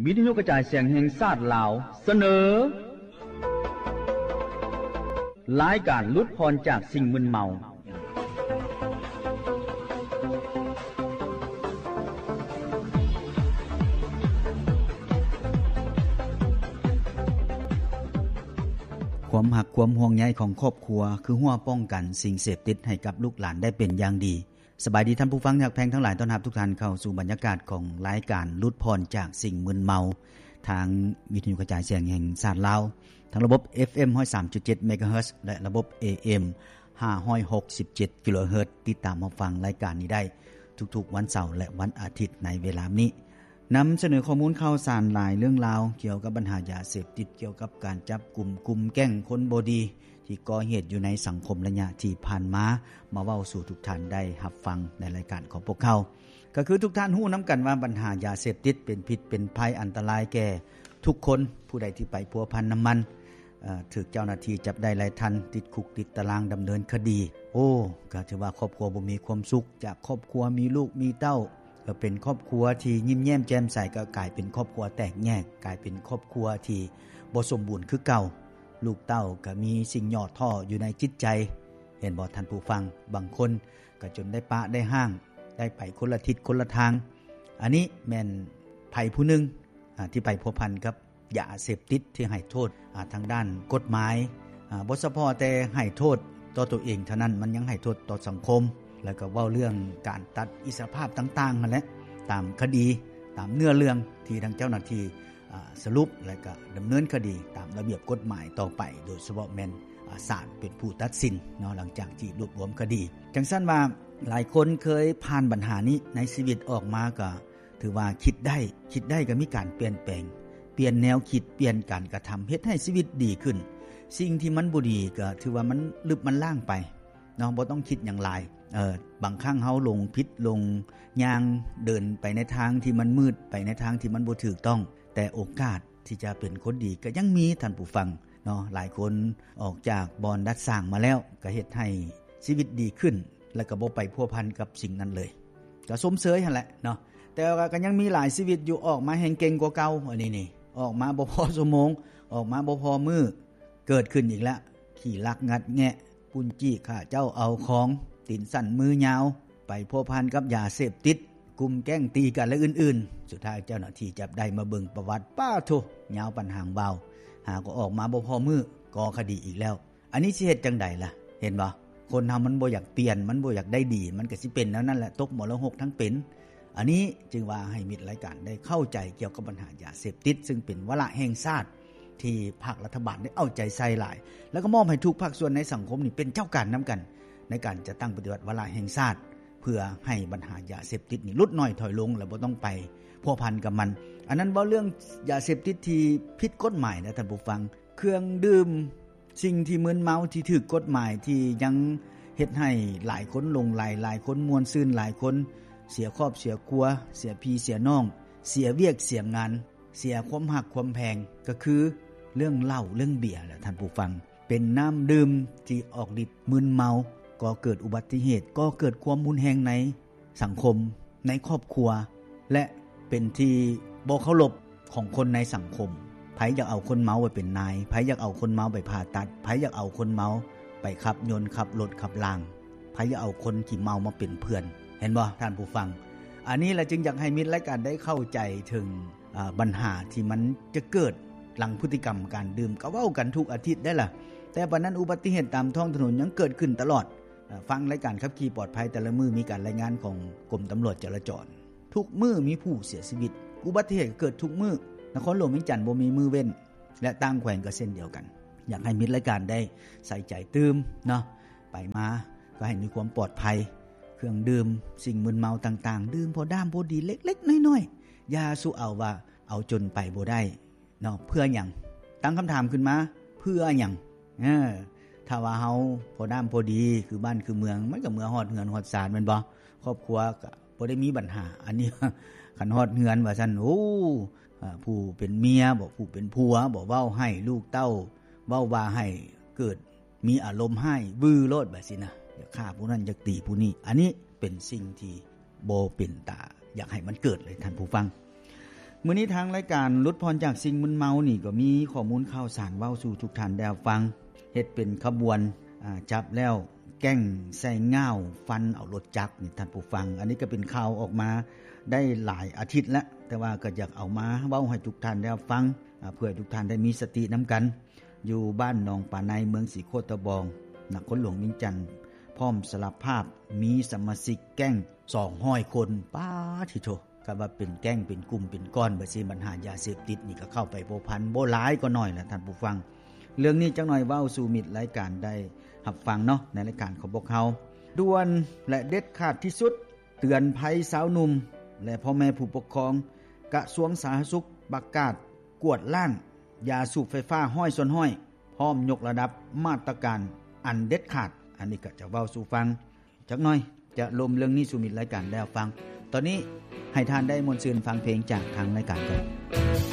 ວິທະຍຸກະຈາຍສຽງແຫ່ງຊາດລາວ ສະເໜີ ລາຍການຫຼຸດຜ່ອນຈາກສິ່ງມຶນເມົາ. ຄວາມຮັກຄວາມຫ່ວງໃຍຂອງຄອບຄົວ ຄືຮົ້ວປ້ອງກັນສິ່ງເສບຕິດໃຫ້ກັບລູກຫຼານໄດ້ເປັນຢ່າງດີ. ສະບາຍດີທ່ານຜູ້ຟັງທີ່ຮັກແພງທັງຫຼາຍ, ຕ້ອນຮັບທຸກທ່ານເຂົ້າສູ່ບັນຍາກາດຂອງລາຍການຫຼຸດຜ່ອນຈາກສິ່ງມຶນເມົາ ທາງວິທະຍຸກະຈາຍສຽງແຫ່ງຊາດລາວ ທາງລະບົບ ເອັຟເອັມ ຮ້ອຍສາມຈຸດເຈັດ ເມກາເຮີດ ແລະ ລະບົບ ເອເອັມ ຫ້າຮ້ອຍຫົກສິບເຈັດ ກິໂລເຮີດ. ຕິດຕາມຮັບຟັງລາຍການນີ້ໄດ້ທຸກໆວັນເສົາ ແລະ ວັນອາທິດໃນເວລານີ້. ນຳສະເໜີຂໍ້ມູນຂ່າວສານຫຼາຍເລື່ອງລາວກ່ຽວກັບບັນຫາຢາເສບຕິດ, ກ່ຽວກັບການຈັບກຸມກຸ່ມແກ້ງຄົນບໍ່ດີທີ່ກໍ່ເຫດຢູ່ໃນສັງຄົມໄລຍະທີ່ຜ່ານມາ, ມາເວົ້າສູ່ທຸກທ່ານໄດ້ຮັບຟັງໃນລາຍການຂອງພວກເຮົາ. ກໍຄືທຸກທ່ານຮູ້ນຳກັນວ່າບັນຫາຢາເສບຕິດເປັນພິດເປັນໄພອັນຕະລາຍແກ່ທຸກຄົນ, ຜູ້ໃດທີ່ໄປພົວພັນນຳມັນ ເອີ ຖືກເຈົ້າໜ້າທີ່ຈັບໄດ້ໄລ່ທັນ, ຕິດຄຸກຕິດຕາລາງ, ດຳເນີນຄະດີ. ໂອ້ ກໍຖືວ່າຄອບຄົວບໍ່ມີຄວາມສຸກ, ຈາກຄອບຄົວມີລູກມີເຕົ້າ ກໍເປັນຄອບຄົວທີ່ຍິ້ມແຍ້ມແຈ່ມໃສ ກໍກາຍເປັນຄອບຄົວແຕກແຍກ, ກາຍເປັນຄອບຄົວທີ່ບໍ່ສົມບູນຄືເກົ່າ. ລູກເຕົ້າກໍມີສິ່ງຫຍໍ້ທໍ້ຢູ່ໃນຈິດໃຈ. ເຫັນບໍ່ທ່ານຜູ້ຟັງ? ບາງຄົນກໍຈົນໄດ້ປະໄດ້ຮ້າງ, ໄດ້ໄປຄົນລະທິດຄົນລະທາງ. ອັນນີ້ແມ່ນໃຜຜູ້ໜຶ່ງ ອາ ທີ່ໄປພົວພັນກັບ ຢາເສບຕິດທີ່ໃຫ້ໂທດ ອາ ທາງດ້ານກົດໝາຍ ອາ ບໍ່ສະເພາະແຕ່ໃຫ້ໂທດຕໍ່ຕົວເອງເທົ່ານັ້ນ, ມັນຍັງໃຫ້ໂທດຕໍ່ສັງຄົມ, ແລ້ວກໍເວົ້າເລື່ອງການຕັດອິດສະລະພາບຕ່າງໆຫັ້ນແຫຼະ, ຕາມຄະດີ, ຕາມເນື້ອເລື່ອງທີ່ທາງເຈົ້າໜ້າທີ່ ອາ ສະຫຼຸບ ແລ້ວກໍດຳເນີນຄະດີຕາມລະບຽບກົດໝາຍຕໍ່ໄປ, ໂດຍສະເພາະແມ່ນ ອາ ສານເປັນຜູ້ຕັດສິນເນາະ, ຫຼັງຈາກທີ່ລວບລວມຄະດີ. ຈັ່ງຊັ້ນວ່າ ຫຼາຍຄົນເຄີຍຜ່ານບັນຫານີ້ໃນຊີວິດ, ອອກມາກໍ ຖືວ່າຄິດໄດ້, ຄິດໄດ້ກໍມີການປ່ຽນແປງ, ປ່ຽນແນວຄິດ, ປ່ຽນການກະທຳ, ເຮັດໃຫ້ຊີວິດດີຂຶ້ນ. ສິ່ງທີ່ມັນບໍ່ດີກໍຖືວ່າມັນລຶບມັນລ້າງໄປເນາະ, ບໍ່ຕ້ອງຄິດຫຍັງຫຼາຍ. ເອີ ບາງຄັ້ງເຮົາຫຼົງຜິດ, ຫຼົງຍ່າງ, ເດີນໄປໃນທາງທີ່ມັນມືດ, ໄປໃນທາງທີ່ມັນບໍ່ຖືກຕ້ອງ, ແຕ່ໂອກາດທີ່ຈະເປັນຄົນດີກໍຍັງມີ, ທ່ານຜູ້ຟັງເນາະ. ຫຼາຍຄົນອອກຈາກບ່ອນດັດສ້າງມາແລ້ວ ກໍເຮັດໃຫ້ຊີວິດດີຂຶ້ນ ແລ້ວກໍບໍ່ໄປພົວພັນກັບສິ່ງນັ້ນເລີຍ, ກໍຊົມເຊີຍຫັ້ນແຫຼະເນາະ. ແຕ່ວ່າກໍຍັງມີຫຼາຍຊີວິດຢູ່ ອອກມາແຮ່ງເກັ່ງກວ່າເກົ່າ. ອັນນີ້ນີ້ ອອກມາບໍ່ພໍຊົ່ວໂມງ, ອອກມາບໍ່ພໍມື້, ເກີດຂຶ້ນອີກແລ້ວ. ຂີ້ລັກງັດແງະ, ປຸ້ນຈີ້ຂ້າເຈົ້າເອົາຂອງ, ຕີນສັ້ນມືຍາວ, ໄປພົວພັນກັບຢາເສບຕິດ, ກຸ່ມແກ້ງຕີກັນ ແລະ ອື່ນໆ. ສຸດທ້າຍເຈົ້າໜ້າທີ່ຈັບໄດ້, ມາເບິ່ງປະຫວັດ, ປາໂທ້ ຍາວປານຫາງວາວ, ຫາກໍອອກມາບໍ່ພໍມື້, ກໍ່ຄະດີອີກແລ້ວ. ອັນນີ້ຊິເຮັດຈັ່ງໃດລະ? ເຫັນບໍ່? ຄົນເຮົາມັນບໍ່ຢາກປ່ຽນ, ມັນບໍ່ຢາກໄດ້ດີ, ມັນກໍຊິເປັນແນວນັ້ນແຫຼະ, ຕົກມໍລະຫົກທັງເປັນ. ອັນນີ້ຈຶ່ງວ່າໃຫ້ມິດລາຍການໄດ້ເຂົ້າໃຈກ່ຽວກັບບັນຫາຢາເສບຕິດ, ຊຶ່ງເປັນວາລະແຫ່ງຊາດທີ່ພາກລັດຖະບານໄດ້ເອົາໃຈໃສ່ຫຼາຍ, ແລ້ວກໍມອບໃຫ້ທຸກພາກສ່ວນໃນສັງຄົມນີ້ເປັນເຈົ້າການນຳກັນ ໃນການຈັດຕັ້ງປະຕິບັດວາລະແຫ່ງຊາດ, ເພື່ອໃຫ້ບັນຫາຢາເສບຕິດນີ້ຫຼຸດນ້ອຍຖອຍລົງ ແລະ ບໍ່ຕ້ອງໄປພົວພັນກັບມັນ. ອັນນັ້ນເວົ້າເລື່ອງຢາເສບຕິດທີ່ຜິດກົດໝາຍນະທ່ານຜູ້ຟັງ, ເຄື່ອງດື່ມ ສິ່ງທີ່ມຶນເມົາທີ່ຖືກກົດໝາຍ ທີ່ຍັງເຮັດໃຫ້ຫຼາຍຄົນຫຼົງໄຫຼ, ຫຼາຍຄົນມ່ວນຊື່ນ, ຫຼາຍຄົນເສຍຄອບເສຍຄົວ, ເສຍພີ່ເສຍນ້ອງ, ເສຍວຽກເສຍງານ, ເສຍຄວາມຮັກຄວາມແພງ, ກໍຄືເລື່ອງເຫຼົ້າເລື່ອງເບຍແຫຼະທ່ານຜູ້ຟັງ. ເປັນນ້ຳດື່ມທີ່ອອກລິດມຶນເມົາ, ກໍ່ເກີດອຸບັດຕິເຫດ, ກໍ່ເກີດຄວາມຮຸນແຮງໃນ ສັງຄົມ, ໃນຄອບຄົວ ແລະ ເປັນທີ່ບໍ່ເຄົາລົບຂອງຄົນໃນສັງຄົມ. ໃຜຢາກເອົາຄົນເມົາໄປເປັນນາຍ? ໃຜຢາກເອົາຄົນເມົາໄປຜ່າຕັດ? ໃຜຢາກເອົາຄົນເມົາໄປຂັບຍົນ, ຂັບລົດ, ຂັບລາງ? ໃຜຢາກເອົາຄົນຂີ້ເມົາມາເປັນເພື່ອນ? ເຫັນບໍ່ທ່ານຜູ້ຟັງ? ອັນນີ້ລະຈຶ່ງຢາກໃຫ້ມິດລາຍການໄດ້ເຂົ້າໃຈເຖິງ ອາ ບັນຫາທີ່ມັນຈະເກີດຫຼັງພຶດຕິກຳການດື່ມ, ກໍເວົ້າກັນທຸກອາທິດໄດ໋ລະ. ແຕ່ປານນັ້ນ ອຸບັດຕິເຫດຕາມທ້ອງຖະໜົນຍັງເກີດຂຶ້ນຕະຫຼອດ. ອາ ຟັງລາຍການຂັບຂີ່ປອດໄພແຕ່ລະມື້ ມີການລາຍງານຂອງກົມຕຳຫຼວດຈະລາຈອນ, ທຸກມື້ມີຜູ້ເສຍຊີວິດ, ອຸບັດຕິເຫດກໍເກີດທຸກມື້. ນະຄອນຫຼວງວຽງຈັນບໍ່ມີມື້ເວັ້ນ ແລະ ຕ່າງແຂວງກໍເຊັ່ນດຽວກັນ. ຢາກໃຫ້ມິດລາຍການໄດ້ໃສ່ໃຈຕື່ມເນາະ, ໄປມາກໍໃຫ້ມີຄວາມປອດໄພ. ເຄື່ອງດື່ມ, ສິ່ງມຶນເມົາຕ່າງໆ, ດື່ມພໍດ້າມພໍດີເລັກໆນ້ອຍໆ, ຢ່າສູ່ເອົາວ່າເອົາຈົນໄປບໍ່ໄດ້ ເນາະ. ເພື່ອຫຍັງ? ຕັ້ງຄຳຖາມຂຶ້ນມາ, ເພື່ອຫຍັງ? ເອີ ຖ້າວ່າເຮົາພໍດ້າມພໍດີ ຄືບ້ານຄືເມືອງ, ມັນກໍເມືອຮອດເຮືອນຮອດຊານແມ່ນບໍ່? ຄອບຄົວກໍບໍ່ໄດ້ມີບັນຫາ. ອັນນີ້ ຄັນຮອດເຮືອນວ່າຊັ້ນ, ໂອ້ ອາ ຜູ້ເປັນເມຍບໍ ຜູ້ເປັນຜົວບໍ ເວົ້າໃຫ້ລູກເຕົ້າ, ເວົ້າວ່າໃຫ້ເກີດມີອາລົມຮ້າຍວືໂລດແບບຊີ້ນະ, ຢາກຂ້າຜູ້ນັ້ນ, ຢາກຕີຜູ້ນີ້. ອັນນີ້ເປັນສິ່ງທີ່ ບໍ່ເປັນຕາຢາກໃຫ້ມັນເກີດເລີຍທ່ານຜູ້ຟັງ. ມື້ນີ້ທາງລາຍການຫຼຸດຜ່ອນຈາກສິ່ງມຶນເມົານີ້ ກໍມີຂໍ້ມູນຂ່າວສານເວົ້າສູ່ທຸກທ່ານໄດ້ຮັບຟັງ. ເຮັດເປັນຂະບວນ ອາ ຈັບແລ້ວແກ້ງໃສ່ງ່າວຟັນເອົາລົດຈັກນີ້ທ່ານຜູ້ຟັງ. ອັນນີ້ກໍເປັນຂ່າວອອກມາໄດ້ຫຼາຍອາທິດແລ້ວ, ແຕ່ວ່າກໍຢາກເອົາມາເວົ້າໃຫ້ທຸກທ່ານໄດ້ຮັບຟັງ ອາ ເພື່ອໃຫ້ທຸກທ່ານໄດ້ມີສະຕິນຳກັນ. ຢູ່ບ້ານໜອງປາໄນ ເມືອງສີໂຄດຕະບອງ ນະຄອນຫຼວງວຽງຈັນ ພ້ອມສາລະພາບມີສະມາຊິກແກ້ງສອງຮ້ອຍຄົນ. ປາດທິໂທ! ຄັນວ່າເປັນແກ້ງ ເປັນກຸ່ມ ເປັນກ້ອນ ແບບຊີ້ ບັນຫາຢາເສບຕິດນີ້ກໍເຂົ້າໄປພົວພັນ ບໍ່ຫຼາຍກໍໜ້ອຍລະທ່ານຜູ້ຟັງ. ເລື່ອງນີ້ຈັກໜ້ອຍເວົ້າສູ່ມິດລາຍການໄດ້ຮັບຟັງເນາະ ໃນລາຍການຂອງພວກເຮົາ. ດ່ວນ ແລະ ເດັດຂາດທີ່ສຸດ ເຕືອນໄພຊາວໜຸ່ມ ແລະ ພໍ່ແມ່ຜູ້ປົກຄອງ. ກະຊວງສາທາລະນະສຸກປະກາດກວດລ້າງຢາສູບໄຟຟ້າຮ້ອຍສ່ວນຮ້ອຍ ພ້ອມຍົກລະດັບມາດຕະການອັນເດັດຂາດ. ອັນນີ້ກໍຈະເວົ້າສູ່ຟັງຈັກໜ້ອຍ, ຈະລົມເລື່ອງນີ້ສູ່ມິດລາຍການໄດ້ຮັບຟັງ. ຕອນນີ້ໃຫ້ທ່ານໄດ້ມ່ວນຊື່ນຟັງເພງຈາກທາງລາຍການກ່ອນ.